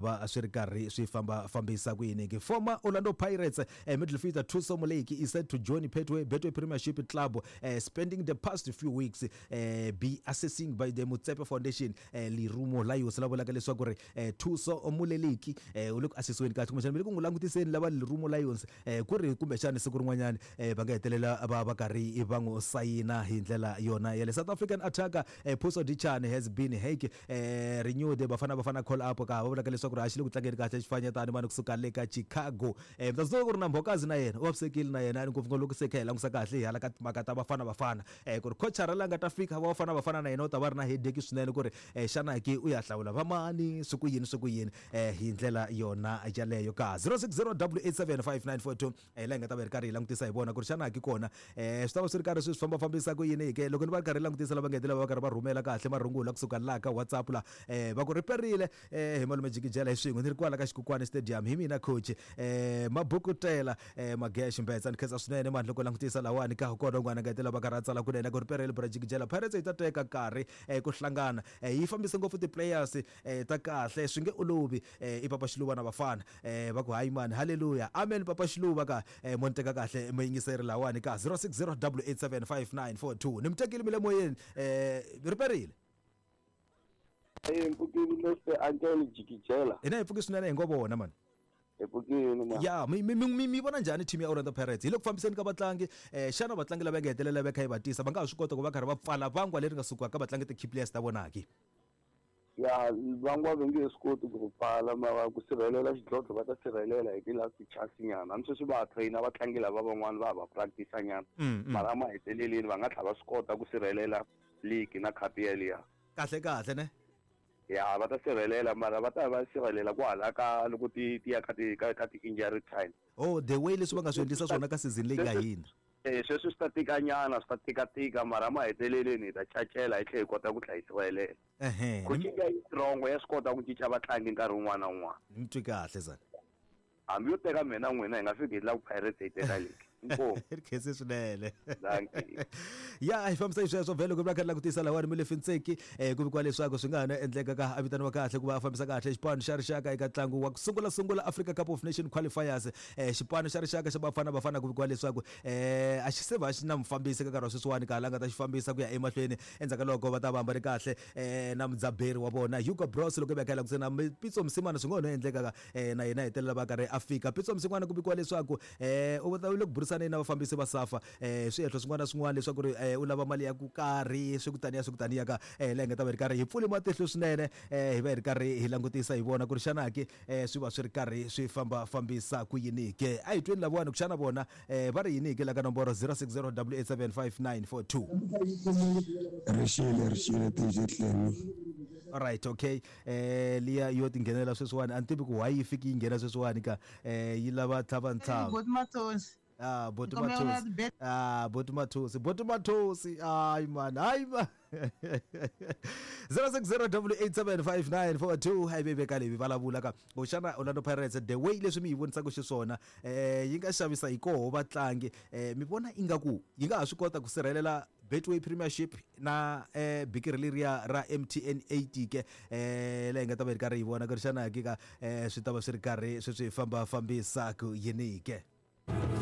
Va swi ri karhi swi famba fambisa ku yini ke. Former Orlando Pirates midfielder Thuso Moleki is set to join Betway Premiership Club, spending the past few weeks be assessing by the Motsepe Foundation. Lerumo Lions la vulaka leswaku ri Thuso Moleleki u le ku assessiweni kahle, kumbexana mi le ku n'wi langutiseni lava Lerumo Lions, ku ri kumbexana siku rin'wanyana va nga hetelela va va karhi va n'wi sayina hi ndlela yona yale. South African attacker Puso Dichane has been hake renewed Bafana Bafana call up, ka va vulaka leswaku ri a xi le ku tlangeni kahle xifanyetani mani kusuka le ka Chicago. Mi ta swi ku ri na Mbokazi na yena u vavisekile na yena, ngopfungopfu loko se kha hi langusa kahle hi hala ka timhaka ta Bafana Bafana, ku ri coachara la nga ta fika va Bafana Bafana na yena u ta va ri na headache swinene ku ri xana ke u ya hlawula vamani, swi ku yini, swi ku yini hi ndlela yona yaleyo. Ka 060 875 942 laha hi nga ta va hi ri karhi hi langutisa hi vona ku ri xana ki kona swi ta va swi ri karhi swi swi fambafambisa ku yini ke. Loko ni va ri karhi langutisa lava nga hetelela va karhi va rhumela kahle marungula kusuka laha ka WhatsApp la, va ku riperile hi malume Jikijela hi swin'we ni ri kwala ka Xikukwani Stadium, hi mina coach Mabukutela Magesh Mbetsa. Ni khensa swinene mani loko langutisa lawani ka kona un'wana nga hetelela va karhi a tsala kunene ku riperile bra Jikijela, Pirates yi ta teka nkarhi ku hlangana, yi fambise ngopfu ti-players ta kahle, swi nge olovi. I Papa Xiluva na vafana va ku hayi mani, halleluya, amen. Papa Xiluva ka mo ni teka kahle muyingiseri lawani ka 060 875 942, ni mi tekile mi le moyeni, riperile. Hi mpfukile, Mr Uncle Jikijela. Hina hi pfuki swinene, hi ngo vona mani. Hi pfukile ma. Ya, mi vona njhani team ya Orlando Pirates hi le ku fambiseni ka vatlangi? Xana vatlangi lava nga hetelela va kha yi va tisa va nga ha swi kota ku va karhi va pfala vangwa leri nga suka ka vatlangi ti-key players ta vona ki? Ya, vangwa va nge swi koti ku pfala, mara ku sirhelela xidlodlo va ta sirhelela hi ti-last chance nyana. Hambi sweswi va ha traina vatlangi lava van'wana, va ha va practice nyana, mara maheteleleni va nga tlhela va swi kota ku sirhelela league na cup yeliya. Kahle kahle ne. Ya, va ta sirhelela, mara va ta va sirhelela kwahala ka loko ti ya ka ti-injury time. Oh, the way leswi va nga swi endlisa swona ka season leyi nga hindza. Sweswi swi ta tika nyana, swi ta tika tika, mara maheteleleni hi ta cacela hi tlhela hi kota ku tlha hi sirhelela. Coaching ya yi strong, ya swi kota ku cinca vatlangi nkarhi wun'wana na wun'wana. Ni mi twi kahle zana. Hambi yo teka mina n'wina, hi nga fiki hi lava ku Pirates yi teka league. Inkomu. Ri khense swinene. Dankie. Ya, hi fambisa xisweswo vhele loko va kha langutisa lawani Molefi Ntseki, ku vikiwa leswaku swi nga ha na endleka ka a vitaniwa kahle ku va a fambisa kahle xipano xa rixaka eka ntlangu wa ku sungula sungula Africa Cup of Nation qualifiers. Xipano xa rixaka xa Bafana Bafana ku vikiwa leswaku a xi se va xi na mufambisi ka nkarhi wa sweswiwani ka la nga ta xi fambisa ku ya emahlweni endzhaku ka loko va ta va hambane kahle na mudzaberi wa vona Hugo Broos. Loko va kha langutisa na Pitso Mosimane, swi nga ho endleka ka na yena hetelela va karhi a fika. Pitso Mosimane ku vikiwa leswaku u ta le ku burisaneni na vafambisi va SAFA swihehlo swin'wana na swin'wana leswaku ri u lava mali ya ku karhi, swi ku taniya, swi ku taniya ka laha hi nga ta va hi ri karhi hi pfule matihlo swinene, hi va hi ri karhi hi langutisa hi vona ku ri xana ke swi va swi ri karhi swi famba fambisa ku yini ke. A hi tweni lavawani ku xana vona va ri yini ke la ka nomboro 060 875 942. Rixile, rixile DJ Clemmy. Alright, okay, liya yo tinghenela sweswiwani, a ni tivi ku why yi fiki yi nghena sweswiwani ka yi lava tlhava ntlhava. Boti Mathosi. Ah, boti Nkomo ya Mathosi. Ah, boti Mathosi, boti Mathosi, hayi man, hayi man. 060 875 942, hayi veve ka leyi vulavula ka ku xana Orlando Pirates, the way leswi mi yi vonisaka xiswona, yi nga xavisa hi koho vatlangi, mi vona ingaku yi nga ha swi kota ku sirhelela Betway Premiership na bikiri leriya ra MTN 8 ke, laha hi nga ta va hi ri karhi hi vona ku ri xana ke ka swi ta va swi ri karhi swi swi famba fambisa ku yini ke?